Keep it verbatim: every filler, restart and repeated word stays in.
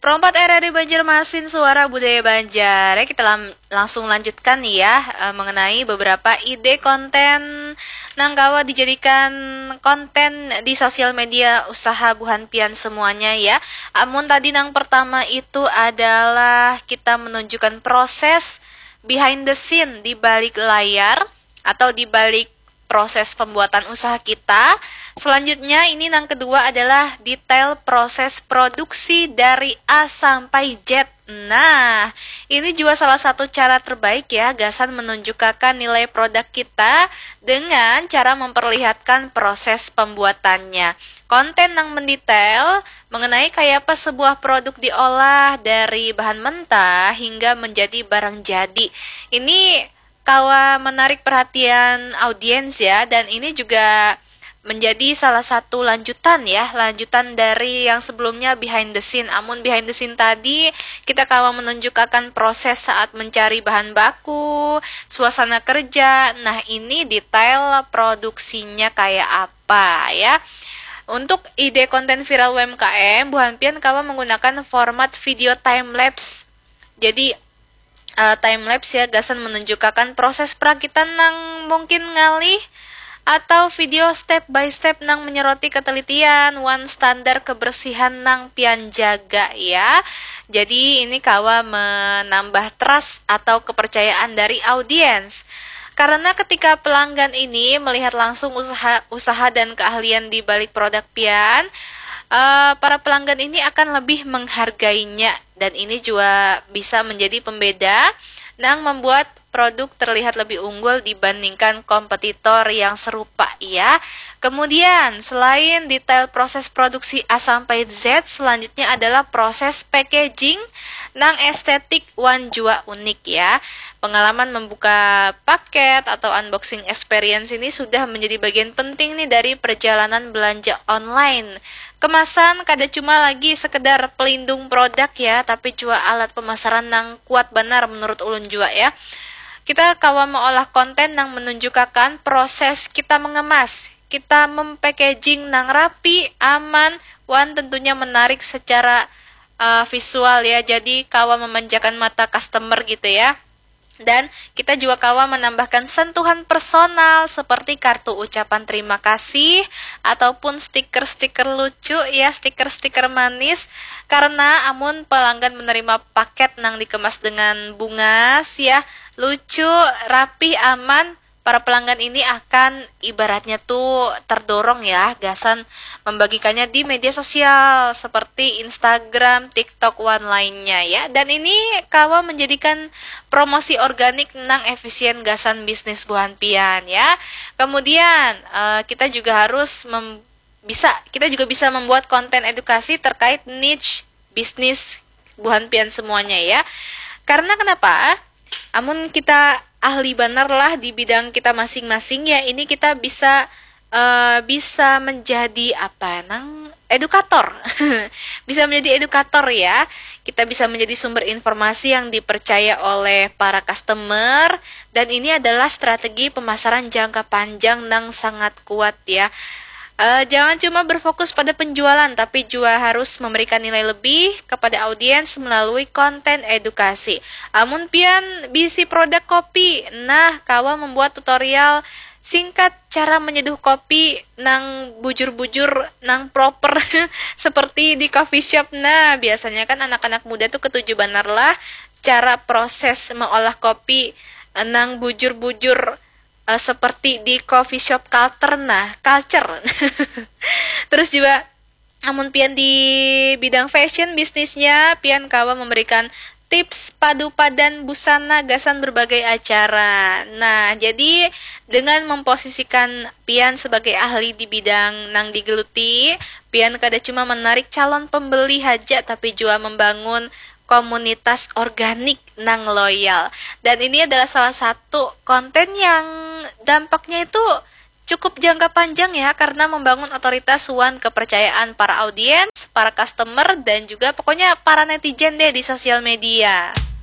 Pro empat R R I Banjarmasin, Suara Budaya Banjar. Ya, kita lam- langsung lanjutkan nih ya, eh, mengenai beberapa ide konten nang kawa dijadikan konten di sosial media usaha buhan pian semuanya ya. Amun tadi nang pertama itu adalah kita menunjukkan proses behind the scene, di balik layar atau di balik proses pembuatan usaha kita. Selanjutnya, ini yang kedua adalah detail proses produksi dari A sampai Z. Nah, ini juga salah satu cara terbaik ya, gasan menunjukkan nilai produk kita dengan cara memperlihatkan proses pembuatannya. Konten yang mendetail mengenai kayak apa sebuah produk diolah dari bahan mentah hingga menjadi barang jadi. Ini kawa menarik perhatian audiens ya, dan ini juga menjadi salah satu lanjutan ya, lanjutan dari yang sebelumnya, behind the scene. Amun behind the scene tadi, kita kawa menunjukkan proses saat mencari bahan baku, suasana kerja. Nah, ini detail produksinya kayak apa ya. Untuk ide konten viral U M K M, buhan pian kawa menggunakan format video time lapse. Jadi, eh, time lapse ya, gasan menunjukkan proses perakitan nang mungkin ngalih, atau video step by step nang menyoroti ketelitian wan standar kebersihan nang pian jaga ya. Jadi, ini kawa menambah trust atau kepercayaan dari audiens. Karena ketika pelanggan ini melihat langsung usaha usaha dan keahlian di balik produk pian, eh, para pelanggan ini akan lebih menghargainya, dan ini juga bisa menjadi pembeda nang membuat produk terlihat lebih unggul dibandingkan kompetitor yang serupa ya. Kemudian, selain detail proses produksi A sampai Z, selanjutnya adalah proses packaging nang estetik wan jua unik ya. Pengalaman membuka paket atau unboxing experience ini sudah menjadi bagian penting nih dari perjalanan belanja online. Kemasan kada cuma lagi sekedar pelindung produk ya, tapi jua alat pemasaran nang kuat banar menurut ulun jua ya. Kita kawa meolah konten nang menunjukakan proses kita mengemas, kita mem-packaging nang rapi, aman, wan tentunya menarik secara, eh, visual ya. Jadi kawa memanjakan mata customer gitu ya. Dan kita juga kawa menambahkan sentuhan personal seperti kartu ucapan terima kasih ataupun stiker-stiker lucu ya, stiker-stiker manis. Karena amun pelanggan menerima paket nang dikemas dengan bungas ya, lucu, rapih, aman, para pelanggan ini akan ibaratnya tuh terdorong ya, gasan membagikannya di media sosial seperti Instagram, TikTok, wan lainnya ya. Dan ini kawa menjadikan promosi organik nang efisien gasan bisnis buhan pian ya. Kemudian, eh, kita juga harus mem- bisa kita juga bisa membuat konten edukasi terkait niche bisnis buhan pian semuanya ya. Karena kenapa? Amun kita ahli banar lah di bidang kita masing-masing ya, ini kita bisa, eh, bisa menjadi apa nang edukator. Bisa menjadi edukator ya. Kita bisa menjadi sumber informasi yang dipercaya oleh para customer, dan ini adalah strategi pemasaran jangka panjang nang sangat kuat ya. Eh, jangan cuma berfokus pada penjualan, tapi juga harus memberikan nilai lebih kepada audiens melalui konten edukasi. Amun pian bisi produk kopi, nah, kawa membuat tutorial singkat cara menyeduh kopi nang bujur-bujur, nang proper seperti di coffee shop. Nah, biasanya kan anak-anak muda tuh ketuju banar lah cara proses mengolah kopi, eh, nang bujur-bujur, eh, seperti di coffee shop culture, nah, culture. Terus juga, amun pian di bidang fashion bisnisnya, pian kawa memberikan tips padu padan busana gasan berbagai acara. Nah, jadi dengan memposisikan pian sebagai ahli di bidang nang digeluti, pian kada cuma menarik calon pembeli haja, tapi juga membangun komunitas organik nang loyal. Dan ini adalah salah satu konten yang dampaknya itu cukup jangka panjang ya, karena membangun otoritas wan kepercayaan para audiens, para customer, dan juga pokoknya para netizen deh di sosial media.